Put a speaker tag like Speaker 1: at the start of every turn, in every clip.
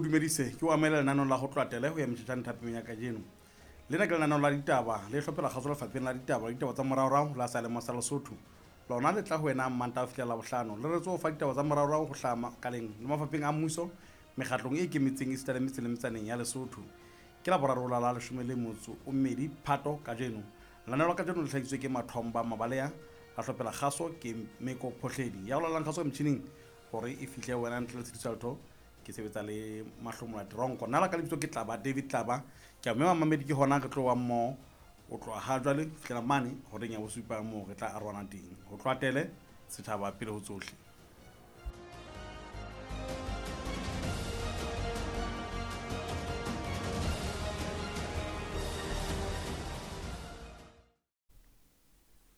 Speaker 1: dumedise, ke o amohela lenaneong la ho tloatele ho ya metjhetjhane thapeng ya kajeno. Lena ke lenaneo la ditaba le hlophela kgaso lefapheng la ditaba le ditaba tsa moraorao la sealemo sa Lesotho. Lona le tla ho wena Mmantaha ho fihlela Labohlano. Le retse ho fa ditaba tsa moraorao ho hlaha makaleng le mafapheng a mmuso, mekgatlong e ikemetseng esita le metseng le metsaneng ya Lesotho. Ke Laboraro la la leshome le motso o mmedi Phato kajeno. Lenaneo la kajeno le hlahisitswe ke Mathomba Mabalea, la hlophela kgaso ke Meko Phohledi. Ya go lalang kgaso ka metjhining hore e fihle ho wena ntle le tshitiso ya letho, ke sebetsa le Mahlomola Teronko. Nna la ka lebitso ke Tlaba David Tlaba. Ke a mema mamedi ke hona re tlo wa mmoho o tloha ha jwale fihlela mane horeng ya bosupa moo re tla arohana teng. Ho tloha tele setjhaba pele ho tsohle.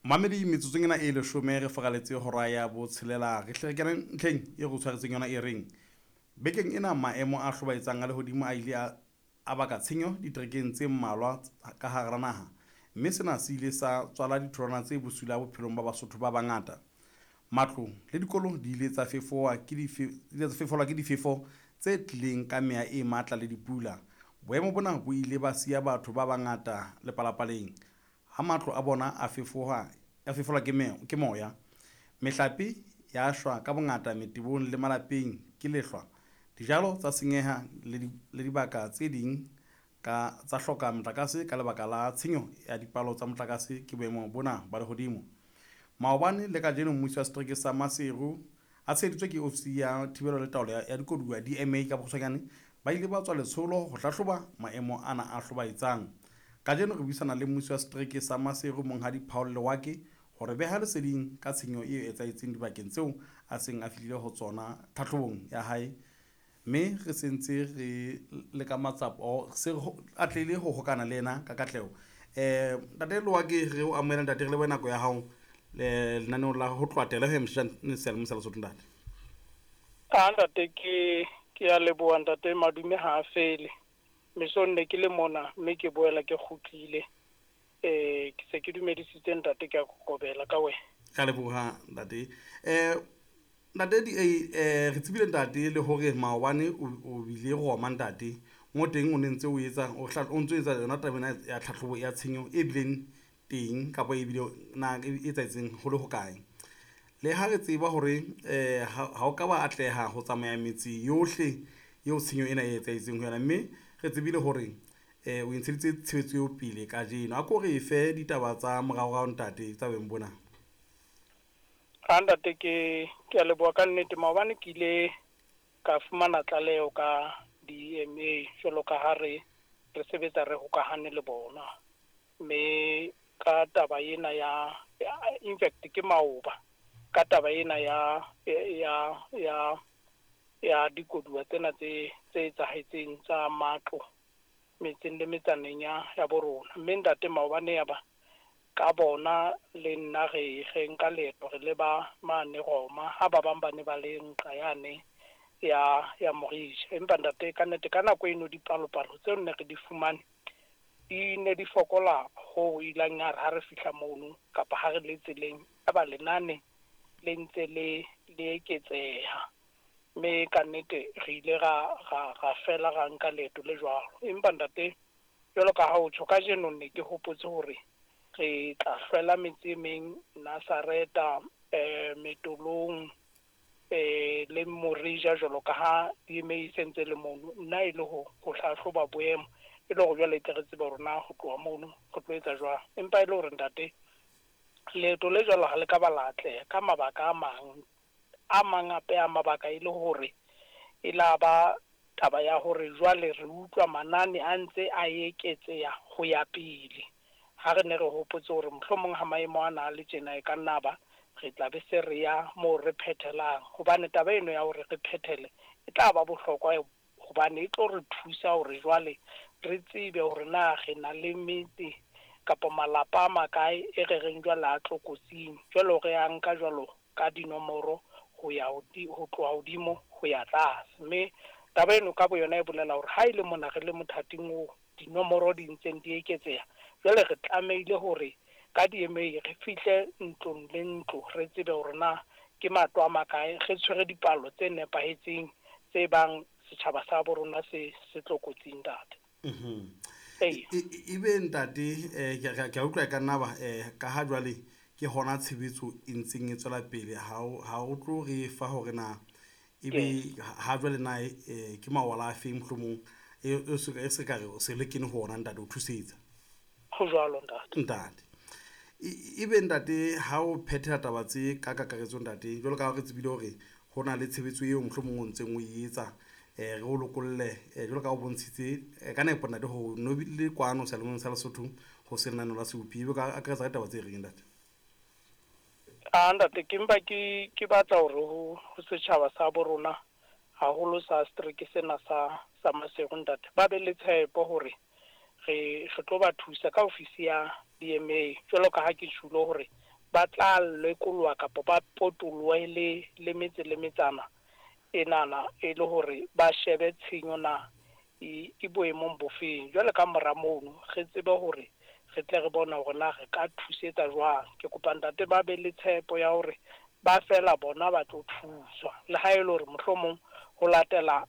Speaker 1: Mamedi metsotsong ena e leshome re foraletse hora ya botshelela re hle re kene ntlheng e re tshwaretseng yona e reng bekeng ena maemo a hlobaetsang a lehodimo a ile a baka tshenyo diterekeng tse mmalwa ka hara naha, mme sena se ile sa tswala ditholwana tse bosula bophelong ba Basotho ba bangata. Matlo le dikolo di ile tsa fefowa ke fefolwa ke difefo tse tlileng ka meya e matla le dipula. Boemo bona bo ile ba siya batho ba bangata lepalapaleng ha matlo a bona a fefoha a fefolwa ke moya. Mehlape ya shwa ka bongata metebong le malapeng ke lehlwa. Dijalo tsa senyeha le dibaka tse ding ka tsa hloka motlakase ka lebaka la tshenyo ya dipalo tsa motlakase ke boemo bona ba lehodimo. Maobane le kajeno mmuso wa setereke sa Maseru a tsheheditswe ke ofisi ya thibelo le taolo ya dikoduwa DMA ka bokgutshwanyane ba ile ba tswa letsholo ho hlahloba maemo ana a hlobaetsang. Kajeno re buisana le mmusi wa setereke sa Maseru Monghadi Paul Lewake hore beha leseding ka tshenyo e etsahetseng dibakeng tseo a seng a fihlile ho tsona tlhahlobong ya hae, mme re sentse re le ka matsapa se atlehile ho hokana le yena ka katleho. Ntate Lewake, re o amohela ntate, re lebohe nako ya hao lenaneong la ho tloha tele ho ya motjhetjane seyalemoya sa Lesotho ntate.
Speaker 2: A ntate, ke ya leboha ntate, madume ha a fele. Mesong ne ke le mona mme ke boela ke kgutlile. Ke se ke dumedisitse ntate, ke a kokobela ka wena.
Speaker 1: Ka leboha ntate. Ntate di re tsebile ntate le hore maobane o bile Roma ntate. Mo teng o ne ntse o etsa o ntso etsa yona taba ena ya tlhahlobo ya tshenyo e bileng teng kapa e bile na e etsahetseng ho le hokae. Le ha re tseba hore ha o ka ba atleha ho tsamaya metse yohle eo tshenyo ena e etsahetseng ho yona, mme re tsebile hore o ntsheditse tshebetso eo pele kajeno. A ko re fe ditaba tsa moraorao ntate tsa beng bona.
Speaker 2: Ha ntate, ke a leboha ka nnete. Maobane ke ile ka fumana tlaleho ka DMA jwalo ka ha re sebetsa re hokahane le bona, mme ka taba ena ya in fact ke maoba ka taba ena ya ya ya ya dikoduwa tsena tse etsahetseng tsa matlo metseng le metsaneng ya borona. Mme ntate maobane ya ba ka bona le nna re nka leeto re le ba mane Roma, ha ba bang ba ne ba le nqa yane ya Morija. Empa ntate ka nnete ka nako eno dipalopalo tseo ne re di fumane di ne di fokola ho ilang ya re ha re fihla mono kapa ha re le tseleng ya ba lenane le ntse le eketseha. Mme ka nnete re ile ra fela ra nka leeto le jwalo. Empa ntate jwalo ka ha o tjho kajeno ne ke hopotse hore re tla hlwela metse e meng Nazareta, Metolong, le Morija jwalo ka ha DMA e sentse le mono. Nna e le ho hlahloba boemo e le hore jwale tle re tsebe hore na ho tloha mono re tlo etsa jwang. Empa e le hore ntate leeto le jwalo ha le ka ba la atleha ka mabaka a mang hape a mabaka e le hore e la ba taba ya hore jwale re utlwa manane a ntse a eketseha ho ya pele. Ha re ne re hopotse hore mohlomong ha maemo ana a le tjena e ka nna ba re tla be se re ya moo re phethelang, hobane taba eno ya hore re phethele e tla ba bohlokwa hobane e tlo re thusa hore jwale re tsebe hore na re na le metse kapa malapa a makae e re reng jwale a tlokotsing. Jwale re ya nka jwalo ka dinomoro ho ya ho tloha hodimo ho ya tlase. Mme taba eno ka boyona e bolela hore ha e le mona re le mothating oo dinomoro di ntseng di eketseha, jwale re tlamehile hore ka DMA re fihle ntlong le ntlo re tsebe hore na ke matlo a makae, re tshwere dipalo tse nepahetseng tse bang setjhaba sa bo rona se se tlokotsing, ntate.
Speaker 1: Ebe ntate, ke a utlwa e ka nna ba ka ha jwale ke hona tshebetso e ntseng e tswela pele, ha o tlo re fa hore na ebe ha jwale na ke mawala a feng mohlomong e se ka re o se le kene ho ona, ntate, o thusetsa?
Speaker 2: Ho jwalo, ntate.
Speaker 1: Ntate, ebe ntate, ha o phethela taba tse ka kakaretso, ntate, jwalo ka ha re tsebile hore ho na le tshebetso eo mohlomong o ntseng o e etsa, re o lokolle, jwalo ka ha o bontshitse ka nepo, ntate, ho no bile kwano seyalemoyeng sa Lesotho ho se lenaneo la Seopi, ebe ka akaretsa ka taba tse reng, ntate?
Speaker 2: A ntate, ke mpa ke batla hore ho setjhaba sa bo rona, haholo sa setereke sena sa Maseru, ntate, ba be le tshepo hore re tlo ba thusa ka ofisi ya DMA, jwalo ka ha ke tjhulo hore ba tla lekoloha kapa ba potolohe le metse le metsana enana, e le hore ba shebe tshenyo na e boemong bofeng. Jwale ka mora mono re tsebe hore re tle re bone hore na re ka thusetsa jwang. Ke kopa, ntate, ba be le tshepo ya hore ba fela bona ba tlo thuswa, le ha e le hore mohlomong ho latela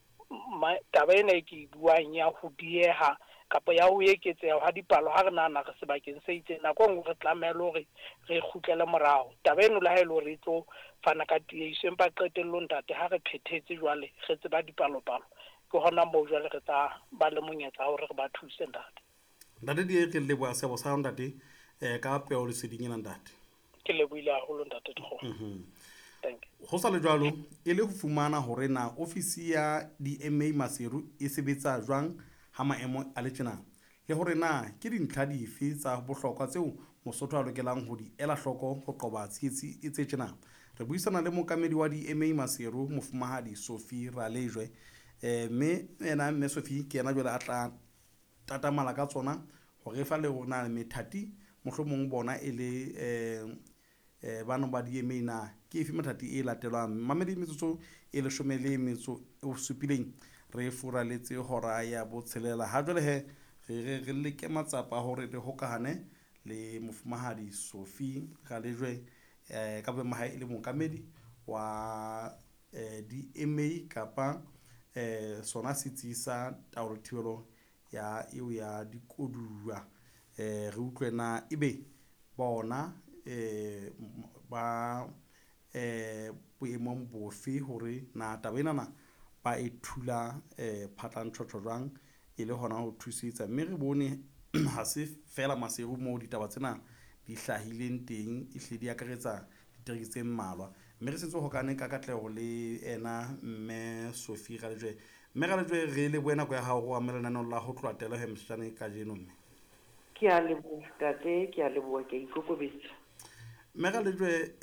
Speaker 2: taba ena e ke e buang ya ho dieha kapa ya ho eketseha ha dipalo, ha re nahana re sebakeng se itseng, nako e nngwe re tlameha le hore re kgutlele morao. Taba eno le ha e le hore e tlo fana ka tiehiso, empa qetellong, ntate, ha re phethetse jwale re tseba dipalopalo, ke hona moo jwale re tla ba le monyetla wa hore re ba thuse, ntate.
Speaker 1: Ntate Die, re leboha seabo sa hao, ntate, ka peo leseding ena, ntate.
Speaker 2: Ke lebohile haholo, ntate Dikgomo. Thank you.
Speaker 1: Ho sa le jwalo, e le ho fumana hore na ofisi ya DMA Maseru e sebetsa jwang ha maemo a le tjena, le hore na ke dintlha dife tsa bohlokwa tseo Mosotho a lokelang ho di ela hloko ho qoba tsietsi e tse tjena, re buisana le mookamedi wa DMA Maseru, Mofumahadi Sophie Ralejwe. Mme ena mme Sophie ke yena jwale a tla tatamala ka tsona hore fa le hore na methati mohlomong bona e le bano ba DMA na ke efe methati e latelwang. Mamedi, metsotso e 17 re furaletse hora ya botshelela. Ha jwale he re leke matsapa hore re hokahane le Mofumahadi Sophie Ralejwe, ka boemo hae e le mookamedi wa DMA kapa sona setsi sa taolo thibelo ya eo ya dikoduwa. Re utlwe na ebe bona ba boemong bofe hore na taba enana ba e thula phatlantjhotjho jwang e le hona ho thusetsa. Mme re bone ha se fela Maseru moo ditaba tsena di hlahileng teng, ehlile di akaretsa ditereke tse mmalwa. Mme re setse hokane ka katleho le ena mme Sophie Ralejwe. Mme Ralejwe, re lebohe nako ya hao ho amohela lenaneo la ho tloha Telehem Mosejane kajeno, mme.
Speaker 3: Ke a leboha, ntate, ke a leboha, ke a ikokobetsa.
Speaker 1: Mme Ralejwe,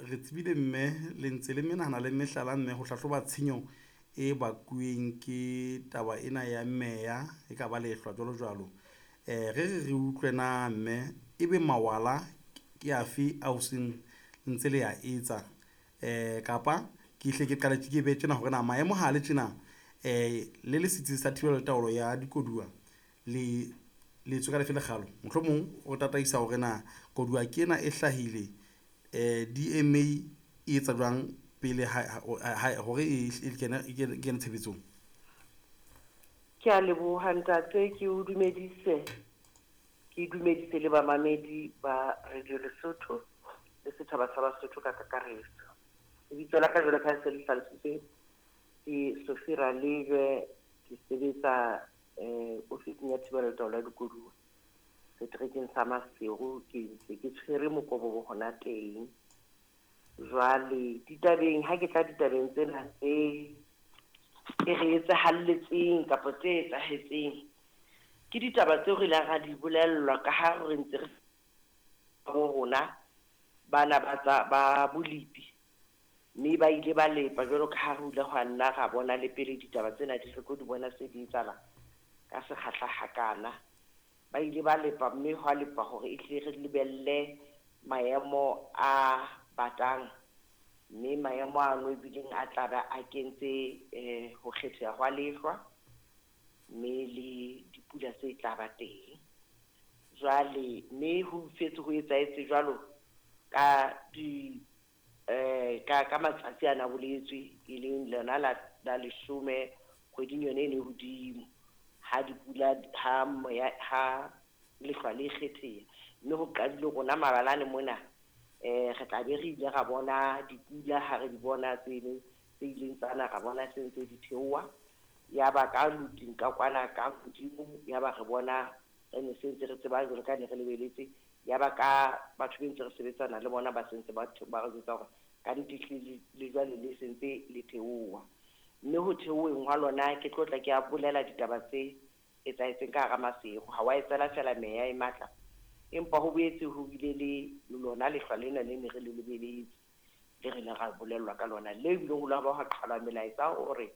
Speaker 1: re tsebile mme le ntse le menahana le mehlala mme ho hlahloba tshenyo e bakuweng ke taba ena ya meya e ka ba lehlwa jwalo jwalo. Re utlwe na mme ebe mawala ke afe ao seng ntse le ya etsa, kapa ke hle ke qale ke be tjena hore na maemo ha le tjena, le le setsi sa thibelo le taolo ya dikoduwa le letswe ka lefe lekgalo, mohlomong o tataisa hore na koduwa ke ena e hlahile, DMA e etsa jwang pele hore e kene tshebetsong?
Speaker 3: Ke a leboha, ntate, ke o dumedise, ke dumedise le bamamedi ba Radio Lesotho le setjhaba sa Basotho ka kakaretso. Lebitso la ka jwalo ka ha se le hlalositswe ke Sophie Ralejwe, ke sebetsa ofising ya thibelo le taolo ya dikoduwa seterekeng sa Maseru, ke ntse ke tshwere mokobobo hona teng. Jwale ditabeng, ha ke tla ditabeng tsena tse e re etsahalletseng kapa tse etsahetseng, ke ditaba tseo re ileng ra di bolellwa ka ha re ntse re bo rona bana ba tsa ba bolipi, mme ba ile ba lepa jwalo ka ha re ile hwa nna ra bona le pele ditaba tsena di re tlo di bona se di etsahala ka sekgahla hakana. Ba ile ba lepa, mme hwa lepa hore e tle re lebelle maemo a batang, mme maemo ano ebileng a tla ba a kentse ho kgetheha hwa lehlwa mme le dipula tse tla ba teng. Jwale mme ho setse ho etsahetse jwalo ka di ka matsatsi ana boletswe, e leng lona la 10 Kgweding yone e ne hodimo ha dipula ha moya ha lehlwa le kgetheha, mme ho qadile rona mabalane mona re tla be re ile ra bona dipula ha re di bona tseno tse ileng tsa na, ra bona se ntse di theoha. Ya ba ka luting ka kwana ka hodimo, ya ba re bona re ne se ntse re tseba jwalo ka ne re lebeletse. Ya ba ka batho be ntse re sebetsana le bona ba sentse ba re jwetsa hore ka nnete ehlile le jwale le sentse le theoha. Mme ho theoweng hwa lona ke tlo tla ke a bolela ditaba tse etsahetseng ka hara Maseru. Ha wa etsela fela meya e matla, empa ho boetse ho bile le lona lehlwa lena le ne re le lebeletse, le re ne ra bolellwa ka lona, le bileng ho la ba ha qhalwa melaetsa hore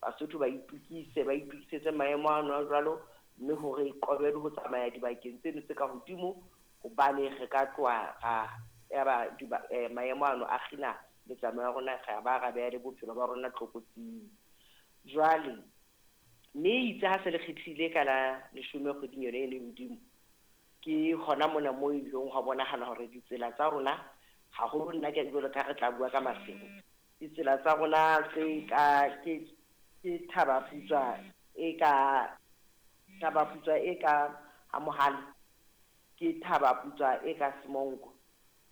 Speaker 3: Basotho ba itokise, ba itokisetse maemo ano a jwalo, mme hore qobe le ho tsamaya dibakeng tseno tse ka hodimo, hobane re ka tloha ra ya ba maemo ano a kgina metsamao ya rona, ra ba ra beha le bophelo ba rona tlokotsing. Jwale mme itse ha se le kgethile ka la 10 kgweding yone e le hodimo, ke hona mona moo e ileng hwa bonahala hore ditsela tsa rona, haholo nna ke jwalo ka re tla bua ka Maseru, ditsela tsa rona tse ka ke Thaba Putswa e ka Thaba Putswa e ka ha Mohale, ke Thaba Putswa e ka Semonko.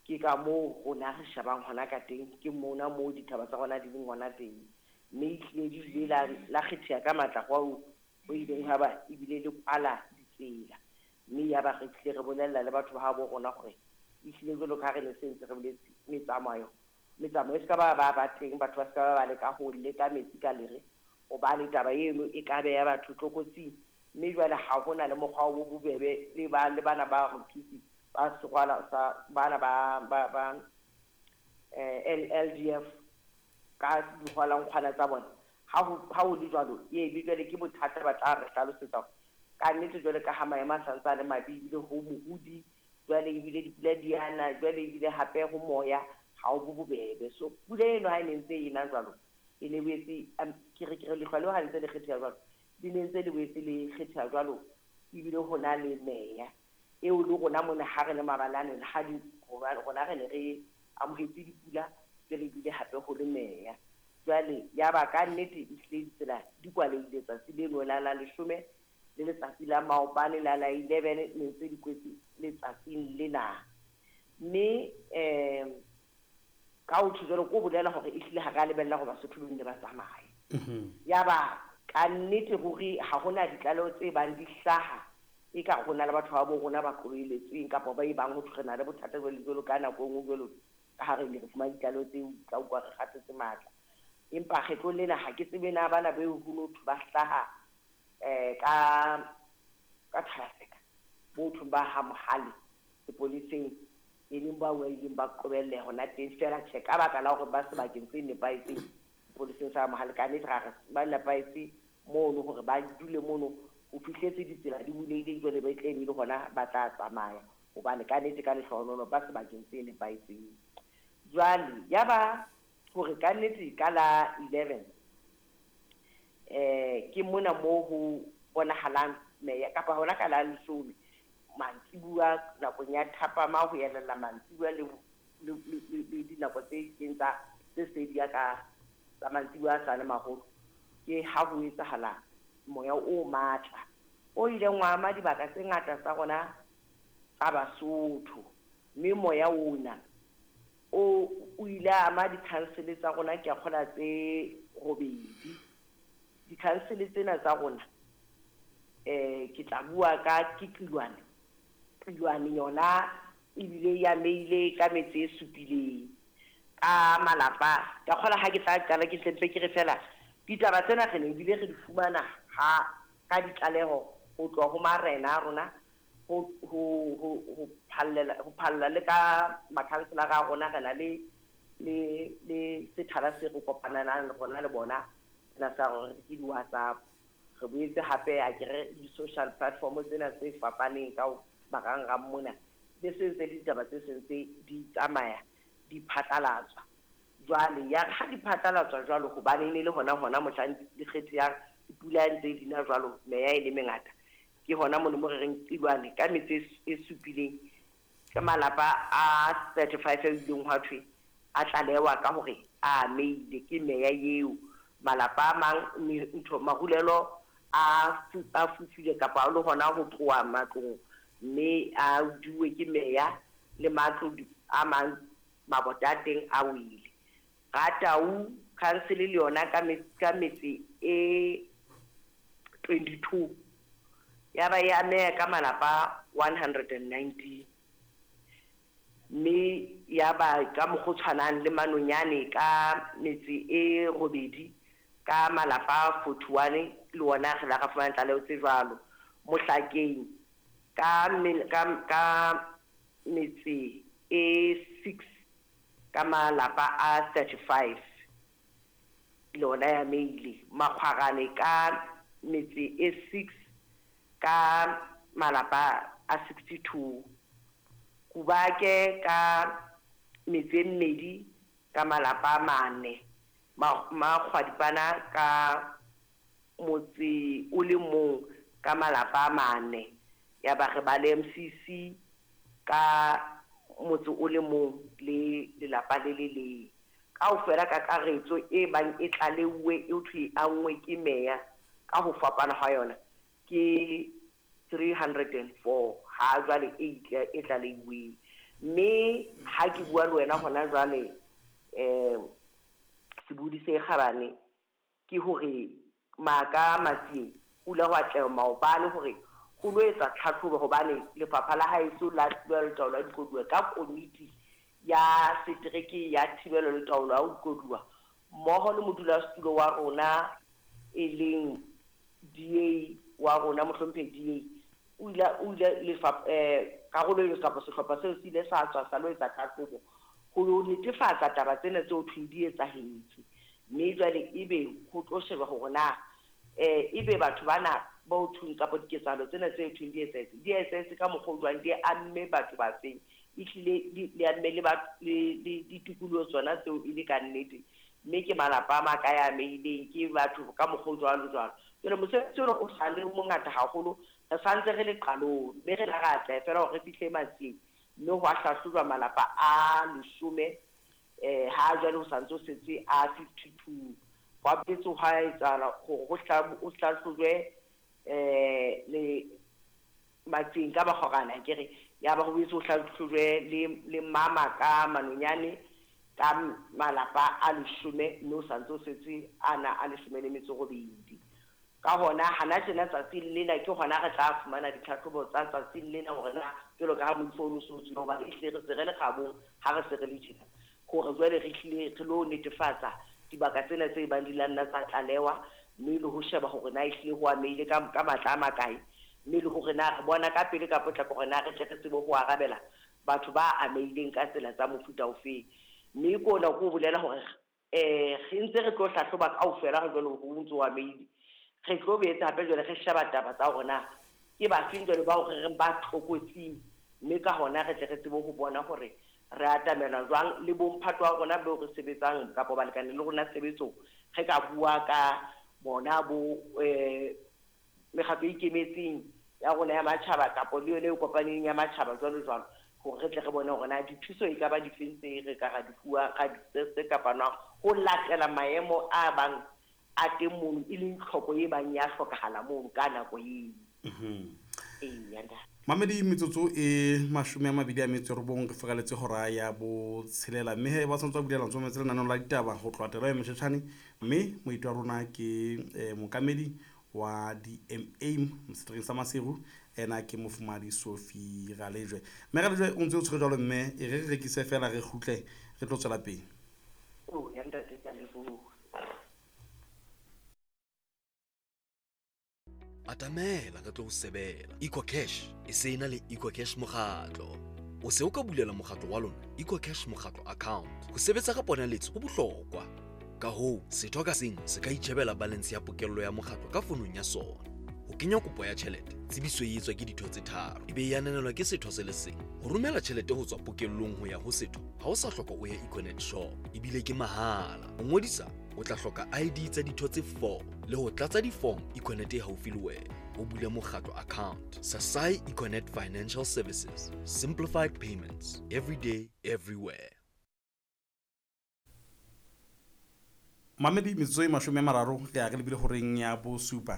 Speaker 3: Ke ka moo rona re shebang hona ka teng, ke mona moo dithaba tsa rona di leng hona teng. Mme ehlile di ile la kgetheha ka matla hoo ho ileng ha ba ebile le kwala ditsela. Mme ya ba re tlile re bolella le batho ba habo rona hore ehlile jwalo ka ha re ne se ntse re boletse, metsamao e se ka ba ba teng, batho ba se ka ba ba leka ho leka metsi ka lere, hobane taba eno e ka beha batho tlokotsing. Mme jwale ha hona le mokgwa o bobebe le ba le bana ba re thuse ba serwala sa bana ba LDF ka dihwalankgwana tsa bona. Ha ho le jwalo, e be jwale ke bothata ba tla re hlalosetsa hore ka nnete jwale ka ha maemo a santse a le mabe, ebile ho mohodi jwale, ebile dipula di ana jwale, ebile hape ho moya ha o bo bobebe. So pula eno ha e ne ntse e na jwalo, e ne boetse ke re lehlwa leo ha ntse le kgetheha jwalo, le ne ntse le boetse le kgetheha jwalo, ebile ho na le meya eo le rona mona ha re le mabalane, ha di rona re ne re amohetse dipula jwale, ebile hape ho le meya. Jwale ya ba ka nnete ehlile ditsela di kwalehile tsatsi leno la 10 le letsatsi la maobane la 11 ne ntse di kwetse letsatsing lena. Mme ka ho tjho jwalo ko bolela hore ehlile ha re lebella hore Basotho ba nne ba tsamaye. Ya ba ka nnete ruri ha hona ditlaleho tse bang di hlaha e ka rona le batho ba bo rona ba qobelletsweng kapa ba e bang ho thwe re na le bothata jwale jwalo ka nako e nngwe jwalo ka ha re ne re fumane ditlaleho tseo tla utlwa re kgathetse matla. Empa kgetlong lena ha ke tsebe na bana beo ho no thwe ba hlaha ka Thaba-Tseka, bo thweng ba ha Mohale sepoleseng, e leng ba ileng ba qobelleha hona teng fela. Tjhe, ka baka la hore ba sebakeng se nepahetseng sepoleseng sa Mohale, ka nnete ra re ba nepahetse mono hore ba dule mono ho fihletse ditsela di bulehile jwale ba tle le hona ba tla tsamaya, hobane ka nnete ka lehlohonolo ba sebakeng se nepahetseng. Jwale ya ba hore ka nnete ka la 11 ke mona moo ho bonahalang meya kapa hona ka la 10 mantsibuya nakong ya thapama ho elella mantsibuya le dinako tse keng tsa tse sedi ka tsa mantsibuya a sa le maholo, ke ha ho etsahala moya o matla o ileng wa ama dibaka tse ngata tsa rona tsa Basotho. Mme moya ona o ile a ama di-council tsa rona, ke a kgola tse 8. Di-council tsena tsa rona ke tla bua ka ke Qilwane. Qilwane yona ebile ya meile ka metse e supileng ka malapa. Ka kgola ha ke tla qala ke tlempe ke re fela ditaba tsena re ne ebile re di fumana ha ka ditlaleho ho tloha ho marena a rona ho phalla le ka makhanselara a rona. Re na le sethala se re kopanang le rona le bona sena sa hore ke di-WhatsApp. Re boetse hape a ke re di-social platform tsena tse fapaneng ka marangrang mona, le se ntse le ditaba tse sentse di tsamaya di phatlalatswa. Jwale ya ha di phatlalatswa jwalo, hobane ne le hona mohlang di kgethehang dipula ntse di na jwalo, meya e le mengata, ke hona mono mo re reng Qilwane ka metse e supileng ka malapa a 35 a ileng hwa thwe a tlalewa ka hore a meile ke meya eo. Malapa a mang ntho marulelo a fufile kapa a le hona ho tloha matlong, mme a uduwe ke meya, le matlo a mang mabota a teng a wele. Ratau council le yona ka metse e 22 ya ba ya ameha ka malapa 119, mme ya ba ka mokgwa o tshwanang le Manonyane ka metse e 8 ka malapa 41, le ona re la ra fumana tlaleho tse jwalo. Mohlakeng ka metse e 6 ka malapa a 35, le ona ya meile. Makgwarane ka metse e 6 ka malapa a 62. Kubake ka metse e 2 ka malapa a 4. Makgwadipana ka motse o le mong ka malapa a 4. Ya ba re ba le MCC ka motse o le mong le lelapa le le leng. Kaofela kakaretso e bang e tlaleuwe e thwe a nngwe ke meya ka ho fapana ha yona ke 304 ha jwale e tlaleuweng. Mme ha ke bua le wena hona jwale sebodi se kgabane ke hore maka Matsieng o ile wa tleha maobane hore ho lo etsa tlhatlhobo, hobane lefapha la haeso la thibelo le taolo ya dikoduwa ka komiti ya setereke ya thibelo le taolo ya dikoduwa mmoho le modulasetulo wa rona e leng DA wa rona mohlomphehi DA o ile karolo eo kapa sehlopha seo se ile sa tswa sa lo etsa tlhatlhobo ho netefatsa taba tsena tseo thweng di etsahetse. Mme jwale ebe ho tlo sheba hore na ebe batho bana ba o thweng kapa diketsahalo tsena tse thweng di etsahetse di etsahetse ka mokgwa o jwang, di amme batho ba feng, ehlile le amme le ditikoloho tsona tseo e le ka nnete, mme ke malapa a makae a amehileng, ke batho ka mokgwa o jwalo jwalo. Jwale mosebetsi ona o sa le mongata haholo, re santse re le qalong, mme re la ra atleha fela hore re fihle Matsieng, mme ho a hlahlojwa malapa a 10, ha jwale ho santse ho setse a 52. Hwa boetse hwa etsahala hore ho hlahlojwe le Matsieng ka Makgorane akere, ya ba ho boetse ho hlahlojwe le mama ka Manonyane ka malapa a 10, mme ho santse ho setse ana a 18. Ka hona hana tjena tsatsing lena ke hona re tla fumana ditlhatlhobo tsa tsatsing lena hore na jwalo ka ha moifo o no so tswile, hobane ehlile re se re le kgabong ha re se re le tjena, hore jwale re hlile re lo netefatsa dibaka tsena tse bang di la nna tsa tlalewa, mme le ho sheba hore na ehlile ho amehile ka matla a makae, mme le hore na re bona ka pele ka potlako hore na re tle re tsebe ho arabela batho ba amehileng ka tsela tsa mofuta ofeng. Mme ke ona ko bolela hore re ntse re tlo hlahloba kaofela re jwale ho ntso o amehile, re tlo boetse hape jwale re sheba taba tsa hore na ke bafeng jwale bao re reng ba tlokotsing, mme ka hona re tle re tsebe ho bona hore re atamela jwang le bomphato wa rona beo re sebetsang kapa balekane le rona tshebetsong, re ka bua ka bona bo mekgatlo e ikemetseng ya rona ya matjhaba kapa le yone e kopaneng ya matjhaba jwalo jwalo, hore re tle re bone hore na dithuso e ka ba difeng tse re ka ra di fuwa tse ka fanwang ho latela maemo a bang a teng mono, e leng tlhoko e bang ya hlokahala mono ka nako eo.
Speaker 1: Mamedi metsotso e 29 re feraletse hora ya 6, mme he ba tshwanetse ba bulela ntso metse lenaneo la ditaba ho tloha tela ya Motjhetjhane, mme moeti wa rona ke mookamedi wa DMA seterekeng sa Maseru, ena ke mofumahadi Sophie Ralejwe. Mme Ralejwe o ntse o tshwere jwalo, mme e re re rekise fela re kgutle re tlo tswela pele.
Speaker 3: Ya ntate, ke a leboha.
Speaker 4: Atamela re tlo o sebela. EcoCash e se ena le EcoCash mokgatlo. O se o ka bulela mokgatlo wa lona EcoCash mokgatlo account. Ho sebetsa ka ponaletso ho bohlokwa. Ka hoo, setho ka seng se ka itjhebela balance ya pokello ya mokgatlo ka fonong ya sona. Ho kenya kopo ya tjhelete, tsebiso e etswa ke ditho tse 3, ebe e ananelwa ke setho se le seng. Ho romela tjhelete ho tswa pokellong ho ya ho setho, ha o sa hloka o ye Econet shop, ebile ke mahala. Ho ngodisa, o tla hloka ID tsa ditho tse 4 le ho tlatsa di-form Econet e haufi le wena. O bule mokgatlo account. Sasai Econet Financial Services. Simplified payments. Every day, everywhere.
Speaker 1: Mamedi, metsotso e 30 re ya re lebile horeng ya bosupa.